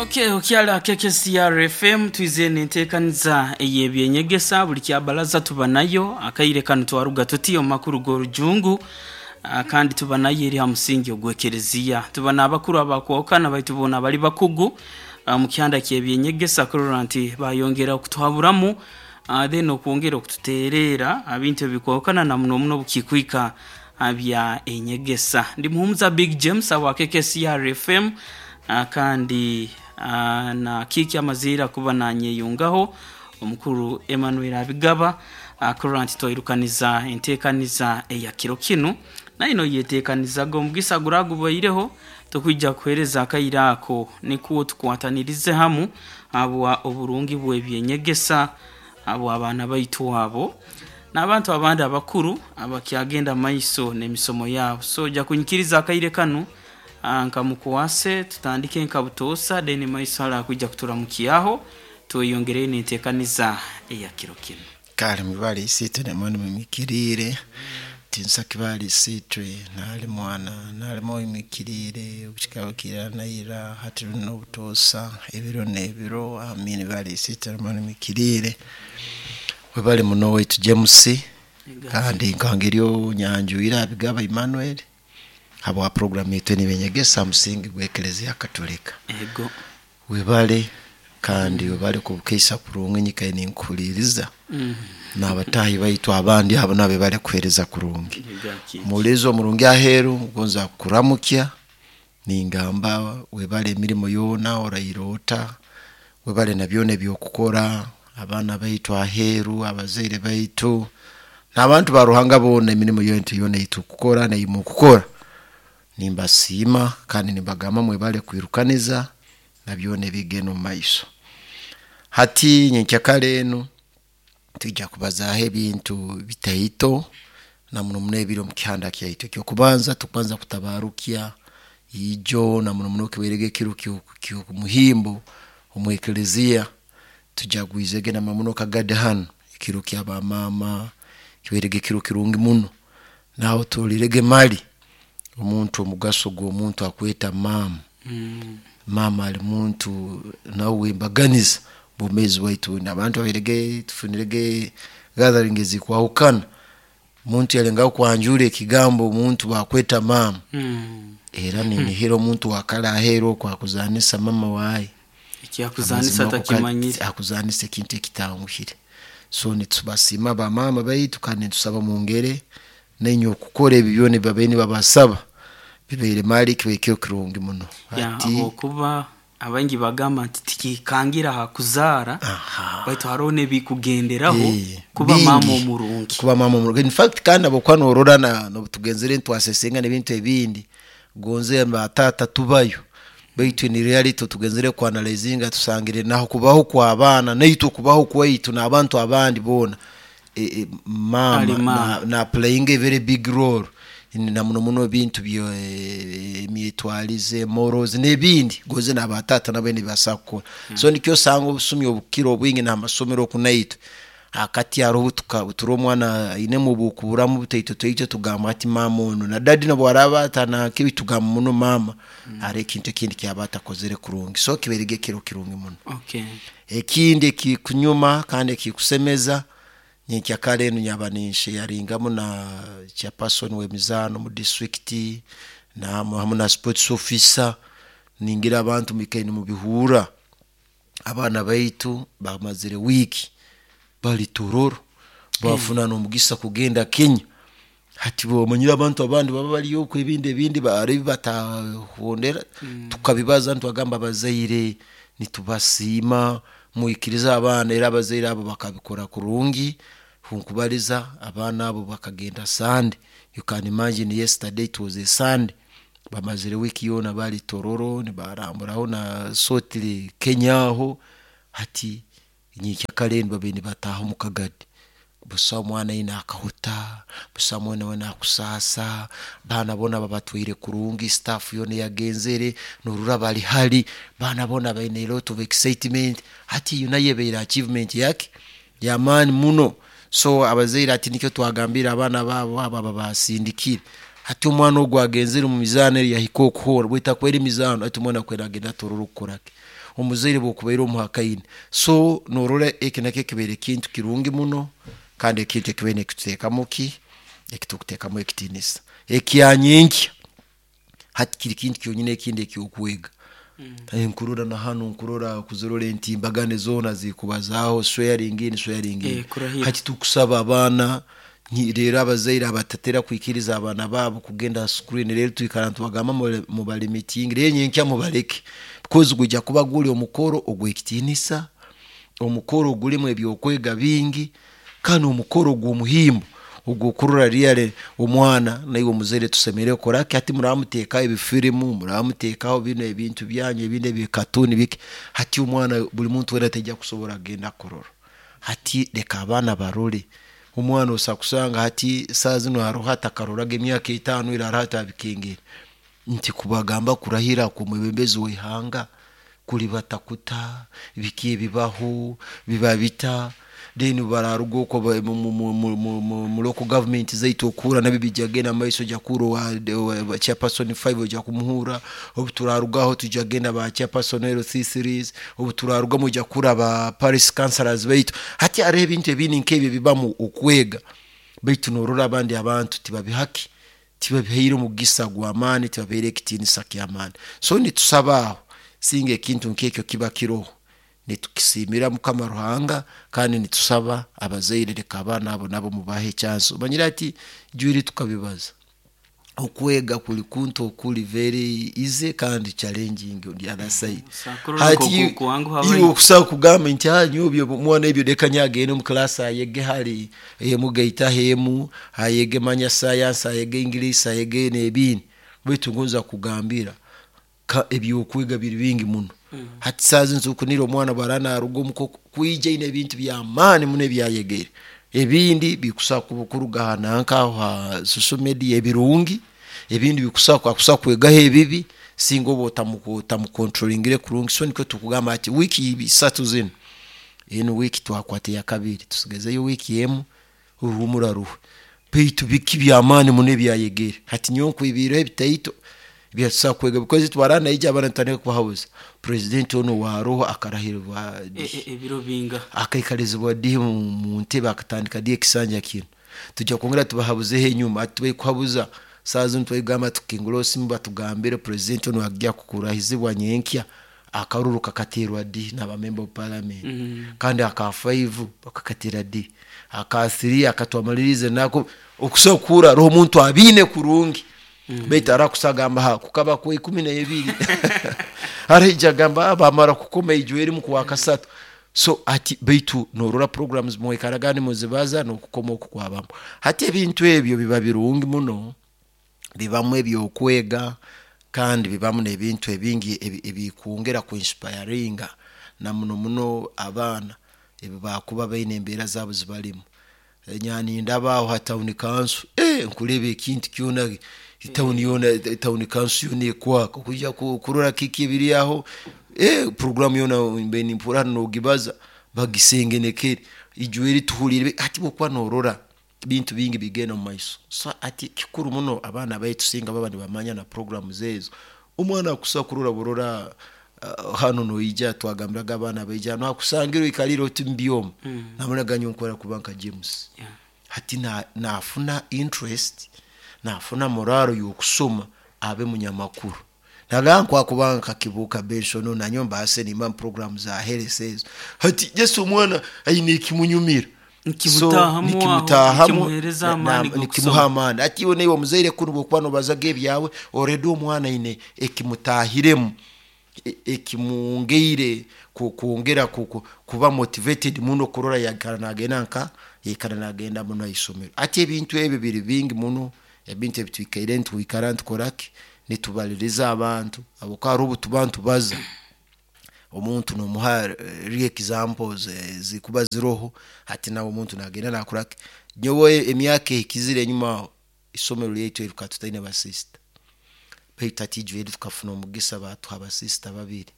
Okay, okyali KKCR FM, twize n'enteekaniza ey'ebyenyegesa buli kyabalaza tuba nayo. Akaire kanu twaruga tuti omu makuru g'orujungu, kandi tuba nayo eri ha musingi ogw'ekereziya. Tuba n'abakuru abakwahukana baitu boona bali bakugu mu kihanda ky'ebyenyegesa kurora nti bayongera okutuhaburamu, then okwongera okututeereera ha bintu ebikwahukana na muno muno obukikwika ha bya enyegesa. Ndi Muhumuza Big James awa KKCR FM, kandi na Kiiki amaziire kuba nanyeyungaho omukuru Emmanuel Abigaba, kurora nti twairukaniza enteekaniza eya kiro kinu. Naye noyeteekanizaga omugisa guragubaireho tukwija kuheereza akaire ako nikwo tukwatanirize hamu habwa oburungi bw'ebyenyegesa habw'abaana baitu abo n'abantu abandi abakuru abakyagenda maiso n'emisomo yaabo. So ojja kunyikiriza akaire kanu nkamukwase tutandike nka butoosa, then maiso hali akwija kuturamukyaho tweyongereyo n'enteekaniza eya kiro kinu. Kale mwibale Isiitwe na Mwana mwimikiriire, tinsaki bali Isiitwe nali Mwana nali Mwoyo mwikiriire, okukikaba kiira naira hati n'obutoosa ebiro n'ebiro. Amiina. Bali Isiitwe na Mwana mwikiriire. Webale muno owaitu James, kandi nkangeri onyanjwire Abigaba Emmanuel habwa program yaitu enu eyenyegesa ha musingi gw'Eklezia Katolika. Ego. Webale kandi webale kubukeisa kurungi nyikaire ninkuhuliiriza n'abataahi baitu abandi abo nabo bebale kuheereza kurungi. Omuhuliiriza omurungi aheeru ngonza kukuramukya ningamba webale emirimo yoona oraire ota, webale na byona eby'okukora, abaana baitu aheeru, abazaire baitu, n'abantu ba Ruhanga boona emirimo yaitu yoona ei tukukora n'ei mukukora. Nimbasiima kandi nimbagamba mwebale kwirukaniza na byona ebigenda omu maiso. Hati nyenkyakara enu twija kubazaaho ebintu bitaito na muno muno ebiri omu kihanda kyaitu. Eky'okubanza tukubanza kutabarukya ijo na muno muno kibairege ekiro ky'omuhimbo omu Eklezia, tujagwizege na muno muno Kagadi hanu ekiro ky'abamaama, kibairege ekiro kirungi muno. Nawe otolirege mali omuntu omugaso gw'omuntu akweta maama. Maama ali muntu nauwe embaganiza obwomeezi bwaitu n'abantu abairege tufunirege gathering ezikwahukana, omuntu yalengaho kwanjura ekigambo omuntu bakweta maama, era ninihira omuntu owakara aheeru oku akuzanisa mama waaye. Ekyakuzanisa Amazima atakimanyire. Akuzanisa ekintu ekitanguhire. So nitubasiima bamaama baitu kandi nitusaba mwongere nainywe okukora ebi byona ebi babaire nibabasaba, bibaire mali kibaire kiro kirungi muno. Ya, Hati habwokuba abaingi bagamba nti tikikangira ha kuzaara, baitu haroho n'ebikugenderaho kuba bingi. Maama omurungi. Kuba maama omurungi. In fact kandi habwokuba norora n'obu tugenzere nitwasesenga n'ebintu ebindi, gonze ba taata tubayo, baitu in reality tugenzere ku analyzinga tusangire naho kubaho kw'abaana naitwe okubaho kwaitu n'abantu abandi boona, maama Ali maama. na playinga a very big role na muno muno ebintu by'emyetwarize, morals n'ebindi gonze n'aba taata nabo nibabaasa kukora. So nikyo osanga obusumi obukukira obwingi n'amasomero oku naitwe, akati haroho obu turora omwana ainemu obukuburamu butaito taito tugamba hati maama onu na dadi n'obu araaba atanankibi tugamba muno maama haroho ekintu ekindi ekyaba atakozere kurungi. So kibairege ekiro kirungi muno. Ekindi ekikunyuma kandi ekikusemeza, nyenkyakara enu nyaba ninsheyaringamu na chairperson w'emizaano mu disiturikiti hamu na sports officer, ningira abantu mwikaire nimubihurra, abaana baitu bamazire wiiki bali Tororo, bafuna n'omugisa kugenda Kenya. Hati omanyire abantu abandi baba bari oku ebindi ebindi hariho ebi batahondera, tukabibaza nitubagamba abazaire nitubasiima mwikirize abaana era abazaire abo bakabikora kurungi, nkubaliza abaana abo bakagenda Sunday, you can imagine yesterday it was a Sunday, bamazire wiiki yoona bari Tororo nibaramburaho na sotire Kenya aho, hati nyenkyakara enu babaire nibataaha omu Kagadi, busaho mwana aine akahuta, busaho mwana weena akusaasa, baana boona babatwaire kurungi, staff yoona eyagenzere norora bali hali, baana boona baine a lot of excitement, hati eyo nayo ebaire achievement yaki y'amaani muno. So abazaire hati nikyo twagambire abaana baabo abo ababasindikire. Hati omwana ogu agenzere mu mizaano eri yahika okuhoora, bwetakwera emizaano, hati omwana akwera agenda atorora okukoraki omuzaire bwokubaire omuhakaine. So norora eki nakyo kibaire kintu kirungi muno, kandi ekintu ekibaire nikituteekamu ki, ekitukuteekamu ekitiinisa ekyanyenkya. Hati kiri kintu kyonyini ekindi ekyokwega. Nkurora na hanu nkurora kuzirora entimbagane zoona zikubazaaho swearing in, swearing in. Kurahira. Hati tukusaba abaana rero abazaire abatatera kwikiriza abaana baabo kugenda ha screen, rero twikara nitubagamba mubalimitinge, rero nyenkya mubaleke, because gwijja kuba guli omukoro ogw'ekitiinisa, omukoro ogulimu ebyokwega bingi, kandi omukoro ogw'omuhimbo ogw'okurora really omwana naiwe omuzaire tusemeriire kukora ki. Hati muramuteekaho ebifirimu, muramuteekaho binu ebintu byanyu ebindi ebikatuni biki, hati omwana buli muntu weena taija kusobora kugenda kurora. Hati leka abaana barole, omwana osobola kusanga hati saaha zinu haroho atakaroraga emyaka 5 eri haroho atabikengere, nti kubagamba kurahira kw'omwebembezi w'ihanga kulibata kuta, biki ebibaho, biba bita, then bararuga okwo mu local government zaitu okuhura nabyo bijja kugenda mumaiso, ojja kuhura owa chairperson 5 ojja kumuhura, obu turarugaho tujja kugenda ba chairperson LC3s, obu turarugamu ojja kuhura ba parish councillors baitu. Hati hariho ebintu ebindi nk'ebyo ebibamu okwega, baitu norora abandi abantu tibabihaki, tibabihaire omugisa gw'amaani, tibabihaire ekitiinisa ky'amaani. So nitusaba aho singa ekintu nk'ekyo kiba kiroho, nitukisiimira Mukama Ruhanga, kandi nitusaba abazaire leka abaana abo nabo mubahe chance. Omanyire hati jwiri tukabibaza, okwega kuli kuntu okuli very easy kandi challenging on the other side. Hati iwe okusobola kugamba nti nyowe omwana ebyo leka nyowe agende omu class ayege hali emu gaitaho emu, ayege manya science, ayege English, ayege n'ebindi, baitu ngonza kukugambira ebyokwega biri bingi muno. Hati saaha zinu tukunira omwana bwara naruga omuka kwija aine ebintu by'amaani muno ebyayegere, ebindi bikusobola kuruga ha nanka aho ha social media ebirungi, ebindi akusobola kwegaho ebibi singa oba otamukontrolingire kurungi. So nikyo tukugamba hati wiiki 3 zinu, enu wiiki twakwata eyakabiri, tusigazeyo wiiki emu oruhumura ruhwe, baitu biki by'amaani muno ebyayegere. Hati nyowe nkwibiireho ebitaito byatusobola kwega, because twara naija abaana nitutandika kubahabuza, president onu owaroho akarahirwa dihi, Ebiro binga, akaikalizibwa dihi mu ntebe, akatandika dihi ekisanja kinu. Tujja kwongera tubahabuzeho enyuma, hati tubaikuhabuza saaha zinu twegamba tukingura osimu batugambire president onu agya kukurahizibwa nyenkya, akaruru kakateerwa dihi n'aba member of parliament, kandi aka 5 bakakatera dihi, aka 3 akatwamaliriize nako, okusobola kuhurra haroho omuntu abiine kurungi, baitu arakusa agamba ha kukaba kwa 12, araija agamba bamara kukoma ijo erimu kwa kasatu. So ati baitu norora programs mwikaraga nimuzibaza n'okukoma oku kwabamu. Hati ebintu ebyo biba birungi muno, bibamu ebyokwega, kandi bibamu n'ebintu ebingi ebikwongera kuinspiringa na muno muno abaana ebibakuba baine embeera zaabo zibalimu. Nindaba aho ha town council, nkureba ekintu kyona town yoona, town council yoona ekwaka, kwija kurora kiki ebiri aho, program yoona mbaire nimpurra hanu nogibaza, bagisengenekere, ijo eri tuhuliire, hati bwokuba norora bintu bingi bigenda omu maiso. So hati kikuru muno abaana baitu singa baba nibamanya na programs ezo, omwana akusobola kurora burora hanu noija twagambiraga abaana baija hanu akusangire oikalire oti mubyoma, nabonaga nyowe nkwenda kuba nka James. Hati nafuna interest, nafuna morale y'okusoma abe munyamakuru. Nagamba nkwakuba nka Kibuuka Benson nanyowe mbaase nimba mu program za health ezo. Hati just omwana aine ekimunyumira, Nikimutaahamu aho, nikimutaahamu, nikimuheereza amaani nikimuha g'okusoma. amaani. Hati iwe naiwe omuzaire kunu bwokuba nobazaga ebyawe, already omwana aine ekimutaahiremu, ekimwongeire kwongera kuba motivated muno kurora yaikara nagenda nka yaikara nagenda muno haisomero. Hati ebintu ebyo biri bingi muno, ebintu ebitwikaire nitwikara nitukoraki, nitubaliriza abantu, habwokuba haroho obutuba nitubaza, omuntu nomuha real examples ezikuba ziroho, hati nawe omuntu nagenda nakoraki. Nyowe emyaka ehikizire enyuma aho, isomero lyaitu eri tukaba tutaine basisita, baitu hati ijo eri tukafuna omugisa batuha abasisita babiri.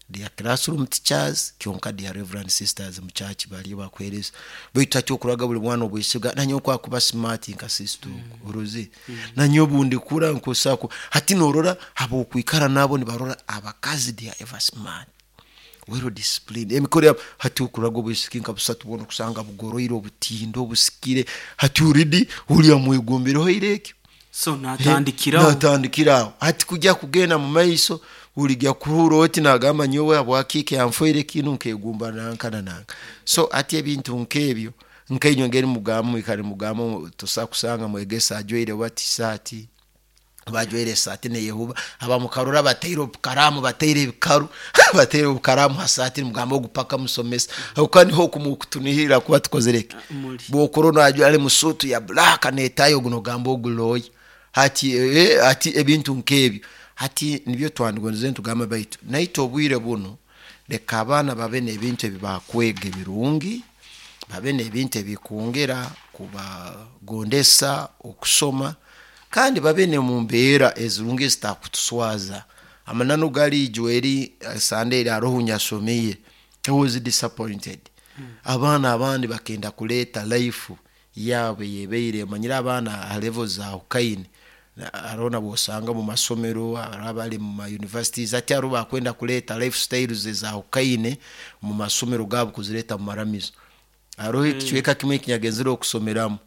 They are classroom teachers, kyonka they are reverend sisters mu church baliyo bakuheereza. Baitu hati okuraga buli mwana obwesiga nanyowe kwakuba smart nka sister ogu, oroze nanyowe obundikura nkosako. Hati norora habwokwikara nabo nibarora abakazi they are ever smart, well disciplined, emikoro yabo. Hati okuraga obwisiki nka busatu bwona okusanga bugoroire, obutindo obusikire. Hati already ori amwegombereho ira ekyo. So natandikiraho. Natandikiraho. Hati kujya kugenda mu maiso uligya kuhura oti nagamba nyowe habwaki kyanfoire kinu nkegumba nanka na nanka. So hati ebintu nk'ebyo nkainywe ngeri mugamba mwikare mugamba tosa kusanga mwegesa ajwaire bati saati, bajwaire esaati neyehuba, abamukarora bataire obukaramu, bataire ebikaru, bataire obukaramu ha saati, nimugamba ogu paka musomesa. Habwokuba niho okumukutunihirira kuba tukozere ki? Muli. Bwokurora najwara ali musuutu ya black n'etayi, ogu nogamba ogu lawyer. Hati hati ebintu nk'ebyo hati nibyo twandigondeze nitugamba, baitu naitwe obwire bunu leka abaana babe n'ebintu ebi bakwega ebirungi, babe n'ebintu ebikwongera kubagondesa okusoma, kandi babe n'omu mbeera ezirungi ezitakutuswaza. Amananu gali ijweri Sunday eri haroho nyasomiire, I was disappointed. Abaana abandi bakenda kuleeta life yaabo eyebaire, omanyire abaana ha level zahukaine, haroho nabosanga mu masomero, hariho abali mu ma universities. Hati hariho bakwenda kuleeta lifestyles ezahukaine mu masomero gaabo kuzireeta mu maramizo. Haroho ekicweka kimwe ekinyagenzere okusomeramu,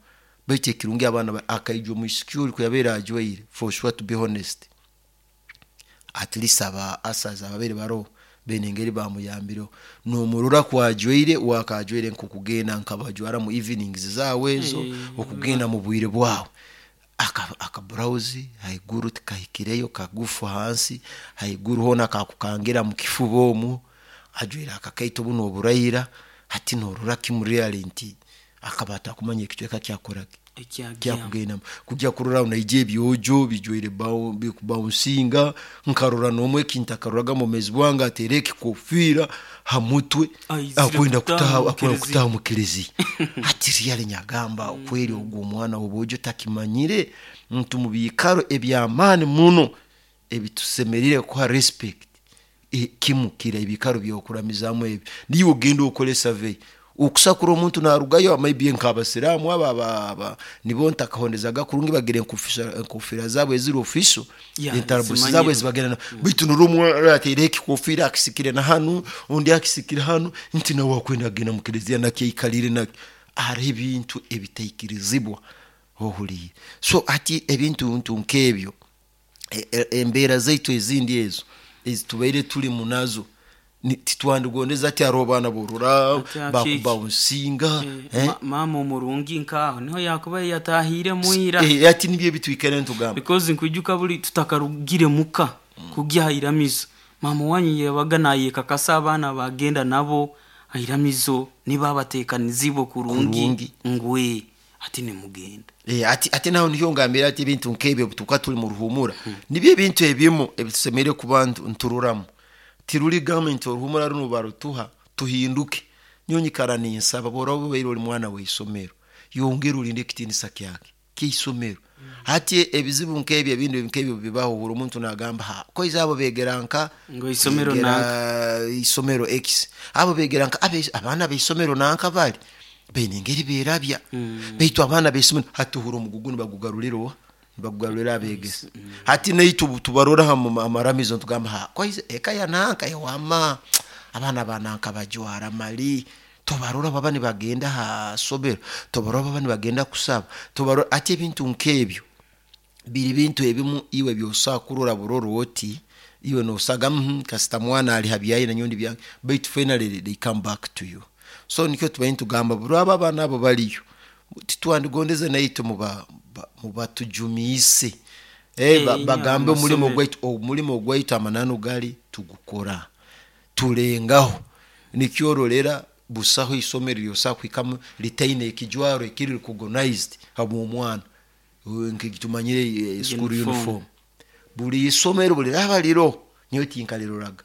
baitu ekirungi abaana akaija omwisiki ori kuyabaire ajwaire, for sure, to be honest, at least aba ushers ababaire baroho baine engeri bamuyambireho. Nomurora kwajwaire wakajwaire nkokugenda nkabajwara mu evenings zaawe ezo, okugenda mu bwire bwawe. Aka blouse haiguru tikahikireyo, kagufu hansi, haiguru hoona kakukangira mu kifuba omu, ajwaire akakaito bunu oburaira. Hati norora kimu really nti akaba atakumanya ekicweka kyakoraki kyakugendamu. Kujya kurora naija ebyojo bijwaire bikubaunsinga, nkarora n'omwe ekintakaruraga mu bwomeezi bwange, ateire ekikofiira ha mutwe akwenda kutaha, akwenda kutaha mu kereziya. Hati really nyagamba okweri ogu omwana w'obwojo takimanyire nti mu biikaro eby'amaani muno ebitusemeriire kuha respect, kimu kiri ebiikaro by'okuramizaamu ebi. Niiwe ogenda okole survey okusakura omuntu narugayo, maybe nk'abasiraamu abo nibo ntakahondezaga kurungi, bagira enkofira zaabo eziri official, entarabusi zaabo ezibagenda, baitu norora omwana ataireho ekikofiira akisikire na hanu, ondi akisikire hanu, nti nawe akwenda kugenda mu kereziya nakyo aikalire nakyo. Hariho ebintu ebitaikirizibwa ohuliire. So hati ebintu ntu nk'ebyo, embeera zaitu ezindi ezo ezitubaire tulimu nazo titwandigondeze ati hariho abaana borora bakubaunsinga. Maama omurungi nkaho niho yakubaire yatahiremu ira. Ati nibyo ebitwikara nitugamba. Because nkwijuka buli tutakarugire muka kugya ha iramizo, maama wanyu yabaga nayekakasa abaana bagenda nabo ha iramizo niba batekanizibwe kurungi ngwe ati nimugenda. Ati naho niyo ngambira ati ebintu nk'ebyo tuka tuli mu ruhumura, nibyo ebintu ebimu ebitusemeriire kuba nturoramu. Tiruli gavumenti oruhumura runo barutuha tuhinduke. Nyowe nyikara ninsaba bworaba obaire ori mwana w'isomero, yongera olinde ekitiinisa kyake ky'isomero. Hati ebizibu nk'ebyo ebindi nk'ebyo bibaho, ohurra omuntu nagamba ha koiza abo begera nka ngo isomero nanka, isomero X, abo begera nka abaana b'isomero nanka bali baine engeri berabya, baitu abaana b'isomero hati ohurra omugugu nibagugarurira oha? Nibagugarurira abegesa. Hati naitwe tubarora ha amaramizo nitugamba ha koiza eka ya nanka ewama abaana ba nanka bajwara mali, tobarora baba nibagenda ha somero, tobarora baba nibagenda kusaba, tobarora. Ati ebintu nk'ebyo biri bintu ebimu iwe byosobola kurora burora oti iwe nosaga kasita mwana ali ha byaye nanyowe ndi byange, baitu finally they come back to you. So nikyo tubaire nitugamba buraba abaana abo baliyo, titwandigondeze naitwe mubatujumiise, bagambe omulimo gwaitu, omulimo gwaitu amananu gali tugukora tulengaho. Nikyo orolera busaho isomero eryosobola kuhikamu litaine ekijwaro ekiri recognized habw'omwana nkitumanyire school uniform. Buli isomero buliraba liroho, nyowe tinkaliroraga.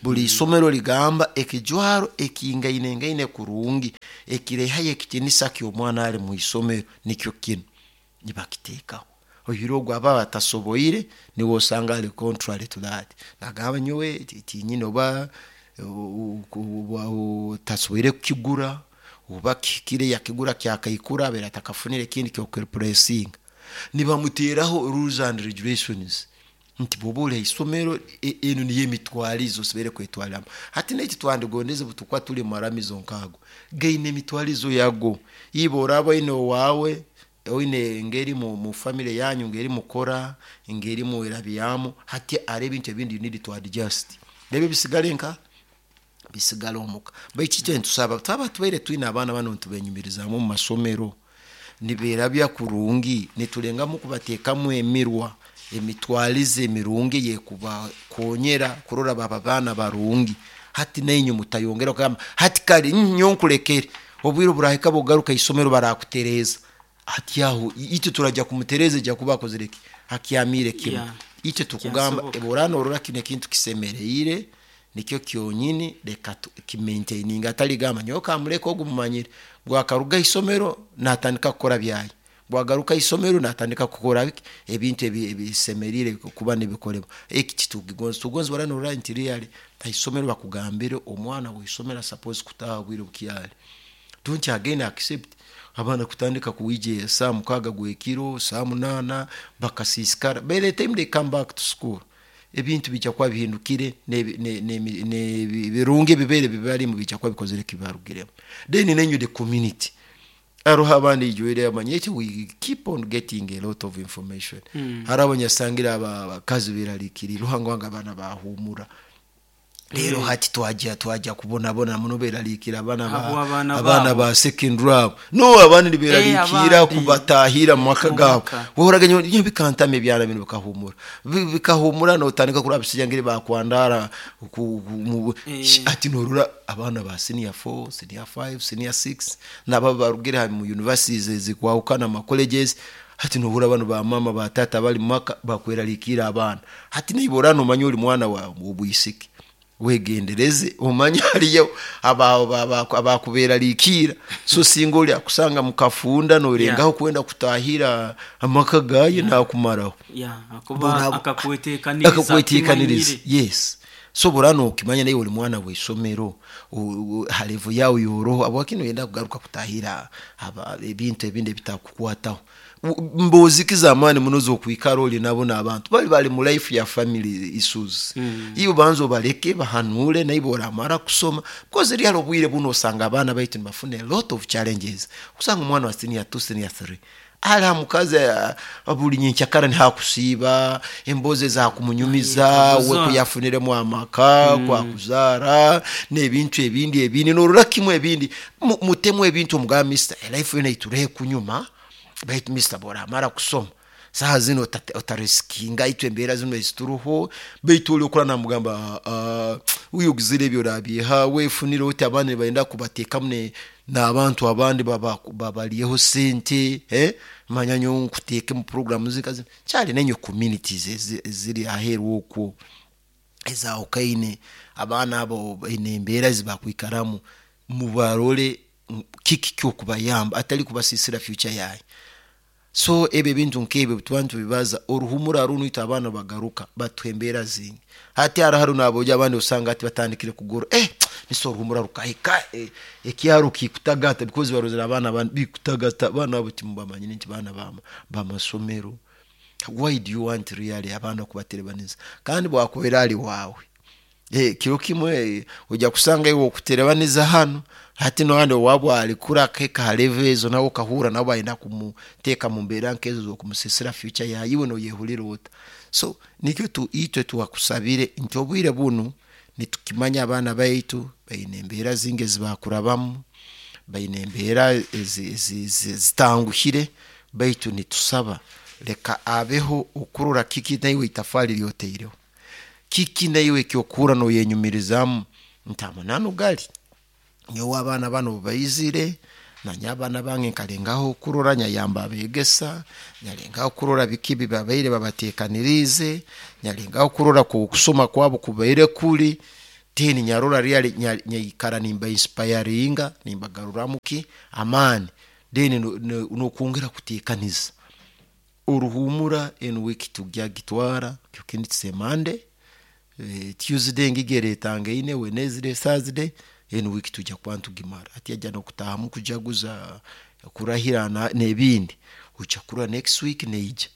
Buli isomero ligamba ekijwaro ekingainengaine kurungi ekirehayo ekitinisa ky'omwana ali mu isomero nikyo kinu, nibakiteekaho. Oihire ogwo aba atasoboire, niwe osanga ali contrary to that, nagamba nyowe tinyine, oba otasoboire kukigura, oba kihikire yakigura kyakaikura, abaire atakafunire ekindi kyokureplacinga. Nibamuteeraho rules and regulations nti bwoba ori haisomero, enu niyo emitwarize osemereire kwetwariramu. Hati naitwe twandigondeze butukuba tuli mumaramizo nk'ago gaine emitwarizo yago. Iwe oraba oine owaawe, oine engeri mu family yanyu, ngeri mukora, ngeri mwerabyamu. Hati hariho ebintu ebindi you need to adjust, ebyo bisigale nka bisigale omuka. Baitu itwe nitusaba, twaba tubaire twine abaana banu nitubenyumirizaamu omu masomero, nibeerabya kurungi, nitulengamu kubateekamu emirwa, emitwarize emirungi eyekubakonyera kurora baba baana barungi. Hati nainywe mutayongera kugamba hati kare nyowe nkulekere, obwire oburahika bwokugaruka isomero barakutereeza. Hati aho itwe turajya kumutereeza, ejya kuba akozire ki, akyamiire kimu. Itwe tukugamba, Kyasoboka. Oraba norora kinu ekintu kisemereire, nikyo kyonyini, leka kimaintaininga. Atali gamba nyowe kamuleka ogu, mumanyire bwakaruga isomero natandika kukora byaye, bwagaruka isomero natandika kukora biki, ebintu ebisemeriire kuba nibikolebwa. Eki titukigonza. Tugonza bara norora nti really haisomero bakugambire omwana w'isomero suppose kutaha obwire bukyali. Don't again accept abaana kutandika kuwija saa 6 gwekiro, saa 8 bakasiisikara. By the time they come back to school, ebintu bijja kuba bihindukire, n'ebirungi ebibaire bibarimu bijja kuba bikozire kibarugiremu. Then nenyu the community, aroho abandi ijwire amanye eki, we keep on getting a lot of information. Hari abanyasangire abakazi berarikirire ruhango wanga abaana bahumura rero. Hati twajya kubonabona muno, berarikira abaana Habw'abaana abaana babo. ba secondary abo, no abandi niberarikira Abandi. kubatahira mu maka Mu gabo. maka. Woraga nyo bikantama ebyana bino bikahumura. Bikahumura notandika kuraba bisijja ngeri bakwandara ati norora abaana ba senior 4, senior 5, senior 6 nabo barugire ha mu universities ezikwahukana, ma colleges. Hati nohura bano ba mama, ba tata bali mu maka bakwerarikira abaana. Hati niba nomanya ori mwana wa obwisiki, wegendereze, omanye hariyo abakuberarikira. So singa oli akusanga mukafunda norengaho kwenda kutahira amaka gaye, nakumaraho. Akuba akakwetekaniriza. Akakwetekaniriza. Akimanyire. Yes, so burano okimanya naye oli mwana w'isomero, ha level yawe yoroho, abwaki noyenda kugaruka kutahira ebintu ebindi ebitakukwataho? Mbozi z'amaani muno zokwikara oli nabo n'abantu bali mu life ya family issues. Iyo banza obaleke bahanure, naibo oramara kusoma, because real obwire buno osanga abaana baitu nibafuna a lot of challenges. Kusanga omwana wa senior 2, senior 3 ali ha mukazi, buli nyenkyakara nihakusiiba embozi ezakumunyumiza we kuyafuniremu amaka, kwakuzaara n'ebintu ebindi ebindi, norora kimu ebindi. Mutemu ebintu, omugamba, "Mister, life yona iturehe kunyuma, baitu mister, bworamara kusoma saha zino otarisikinga itwe embeera zino ezituruho." Baitu oli okura namugamba, "Uyu ogizire ebyo orabyeha wefunire oti." Abandi nibayenda kubateekamu n'abantu abandi babaryeho sente, eh? Manya nyowe nkuteeke mu programu zika zino kyali. Nenyo communities eziri aheeru okwo ezahukhaine, abaana abo baine embeera ezibakwikaramu, mubarole kiki kyokubayamba, atali kubasisira future yaye. So ebyo ebintu nk'ebyo tuba nitubibaza oruhumura runu, itwe abaana bagaruka batuha embeera zingi. Hati haro naboja abandi osanga ati batandikire kugora, niso oruhumura rukahika, ekyaro kikutagata, because barozere abaana abandi bikutagata. Abaana abo timubamanyire nti baana bamasomero. Why do you want really abaana kubaterebaniza? Kandi bwakubeera ali waawe, kiro kimwe ojja kusanga iwe okuterebaniza hano, hati nohandi owabwe alikura akahika ha level ezo, nawe okahura nabo bayenda kumuteeka mu mbeera nkezo zokumusisira future yawe, iwe noyehurira ota? So nikyo itwe twakusabire nti obwire bunu nitukimanya abaana baitu baine embeera zingi ezibakurabamu, baine embeera zitanguhire, baitu nitusaba leka abeho okurora kiki naiwe itafaali lyoteireho, kiki naiwe ekyokuhura noyenyumirizaamu nti amananu gali nyowe abaana bano baizire, nanye abaana bange nkalengaho kurora nyayamba abegesa, nyalengaho kurora biki bibabaire babatekaniriize, nyalengaho kurora kusoma kwabo kubaire kuli then nyarora really nyaikara nimba inspiringa, nimbagaruramu ki amaani, then nokwongera kutekaniza. Oruhumura enu week tujagitwara kindi tise Monday, Tuesday ngigere etangaine, Wednesday, Thursday, enu week tujja kuba ntugimara. Hati ajja nokutahamu kujaguza kurahira n'ebindi, ojja kurora next week neija.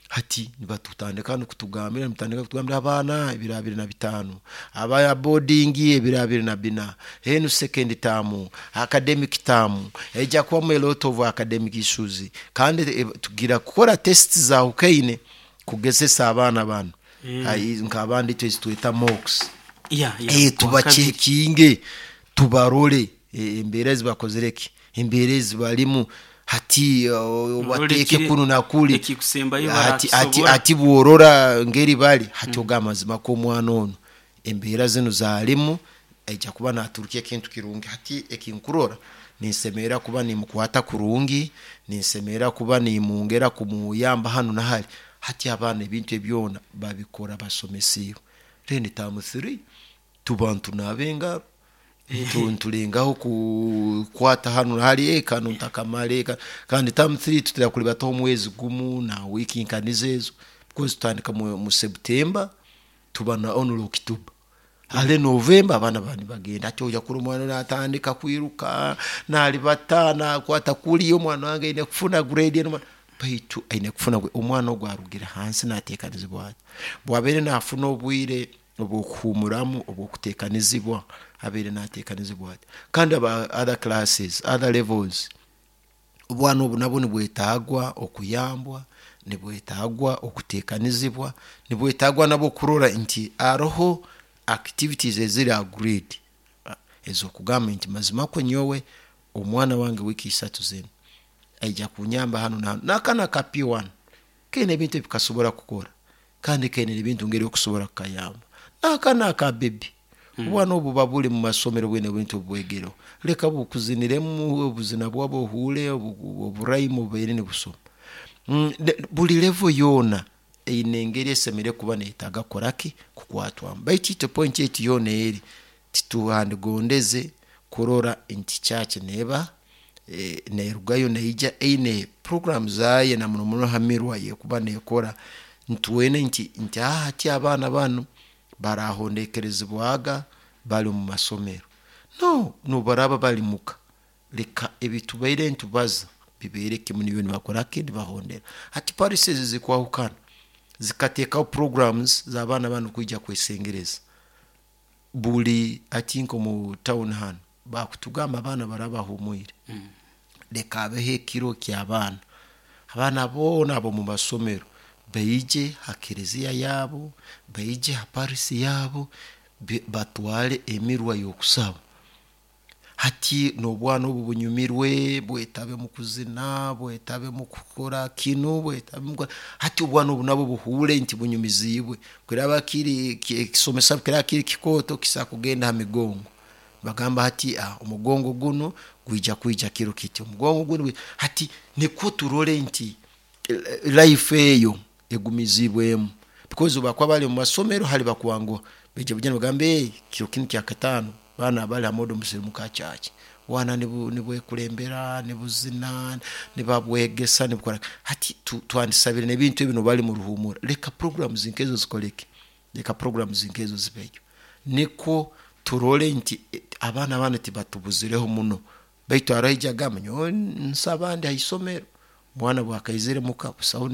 Hati nibatutandika nokutugambira, nibatandika kutugambira abaana ebiro 25, aba boarding ebiro 24, enu second term, academic term ejja kubamu a lot of academic issues. Kandi tugira kukora test zahukaine kugezesa abaana banu. Nk'abandi itwe ezitweta mocks. Tubacekinge, tubarole embeera ezibakozere ki, embeera ezibalimu hati bateeke kunu na kuli. Ekikusembayo hati, barakusobora. Hati bworora ngeri bali hati ogamba mazima ko omwana ono embeera zinu zalimu aija kuba naturukya ekintu kirungi. Hati ekinkurora ninsemerera kuba nimukwata kurungi, ninsemerera kuba nimwongera kumuyamba hanu na hali. Hati abaana ebintu ebyona babikora basomesiibwe. Then term 3 tuba ntunaaba engaro, ntulengaho kukwata hanu na hali, kanu ntakamale kandi term 3 tutera kulibataho omwezi gumu na wiiki nkanizo ezo, because tutandika mu September tuba na only October, hale November abaana baba nibagenda. Hati oja kurora omwana natandika kwiruka nalibata nakwata kuli, omwana wange aine kufuna grade enu, baitu aine kufuna omwana ogwo arugire hansi natekanizibwa ati bwabaire nafuna obwire obwokuhumuramu obwokutekanizibwa, abaire natekanizibwa ati. Kandi aba other classes, other levels, obwana obu nabwo nibwetagwa okuyambwa, nibwetagwa okutekanizibwa, nibwetagwa nabwo kurora nti aroho activities eziri agreed ezokugamba nti mazima kwe nyowe omwana wange wiiki 3 zinu aija kunyamba hanu na hanu. N'akaana ka P1 kaine ebintu ebikasobora kukora, kandi kaine ebintu ngeri okusobora kukayamba. N'akaana ka bebi, obwana obu buba buli mu masomero bwine ebintu obwegereho, leka bukuziniremu obuzina bwabo ohuule oburaimu obubaire nibusoma. Buli level yoona eine engeri esemere kuba neetaaga kukoraki, kukwatwamu. Baitu itwe point yaitu yoona eri tituhandigondeze kurora nti church neeba neerugayo neija eine program zaayo na muno muno hamirwa yekuba neekora ntuwene nti hati abaana banu barahondekerezibwaga bali omu masomero, no nobaraba bali muka, leka ebitubaire ntubaza bibeere kimu nibyo nibakoraki, nibahondera. Hati policies zikwahukana zikateekaho programs z'abaana banu kwija kwesengereza buli ati nko mu town hanu bakutugamba abaana baraba bahumwire, leka habeho ekiro ky'abaana, abaana boona ab'omu masomero baije ha kereziya yaabo, baije ha parisi yaabo, batwale emirwa y'okusaba. Hati n'obwana obu bunyumirwe, bwetabe mu kuzina, bwetabe mu kukora kinu, bwetabe mu hati obwana obu nabwo buhuure nti bunyumiziibwe. Kiraba kiri ekisomesa kiraba kiri kikooto kisobola kugenda ha migongo, bagamba hati omugongo gunu gwija kwija kiro kiti, omugongo gunu hati nikwo turole nti life eyo egumizibwemu, because obu bakuba bali omu masomero hali bakwanguha baija bujana bagambe kiro kinu kyakataano baana abali ha modo musirimuka church, bwana nibwekulembera nibuzina nibabwegesa nibukora. Hati twandisabire n'ebintu ebi bali mu ruhumura, leka programs nkezo zikoleke, leka programs nkezo zibeyo, nikwo turole nti abaana banu tibatubuzireho muno. Baitu haroho ija agamba nyowe nsaba ndi ha isomero, omwana bwakaizire muka busaho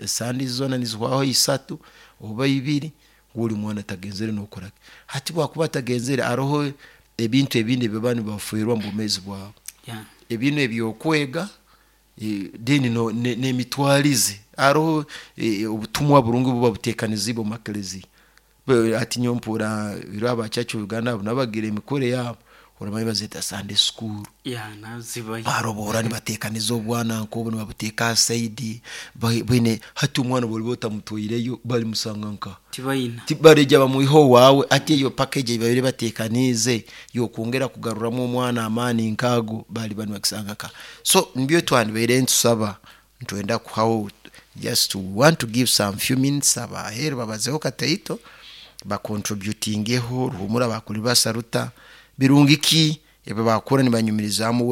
sandi zoona nizihwaho 3 oba 2, ori omwana tagenzere nokoraki. Hati bwakuba atagenzere haroho ebintu ebindi ebiba nibaferwa mu bwomeezi bwabo, ebinu ebyokwega, then n'emitwarize. Haroho obutumwa burungi buba buteekanizibwe omu makereziya. Hati nyowe mpurra ira aba church of Uganda abo nabo bagira emikoro yaabo, oramanya bazeeta Sunday school. Nazibayo. Baroboora nibateekaniza obwana nk'obu nibabuteeka ha side bwine. Hati omwana bwoliba otamutwaireyo balimusanga nka tibayina, bareija bamwiha owaawe. Hati eyo package ei babaire bateekaniize y'okwongera kugaruramu omwana amaani nk'ago baliba nibakisanga nka. So nibyo twandibaire ntusaba, ntwenda kuhaho just to want to give some few minutes abaheeru babazeho kataito bacontributingeho ruhumura bakuli basaruta birungi ki ebi bakora nibanyumirizaamu.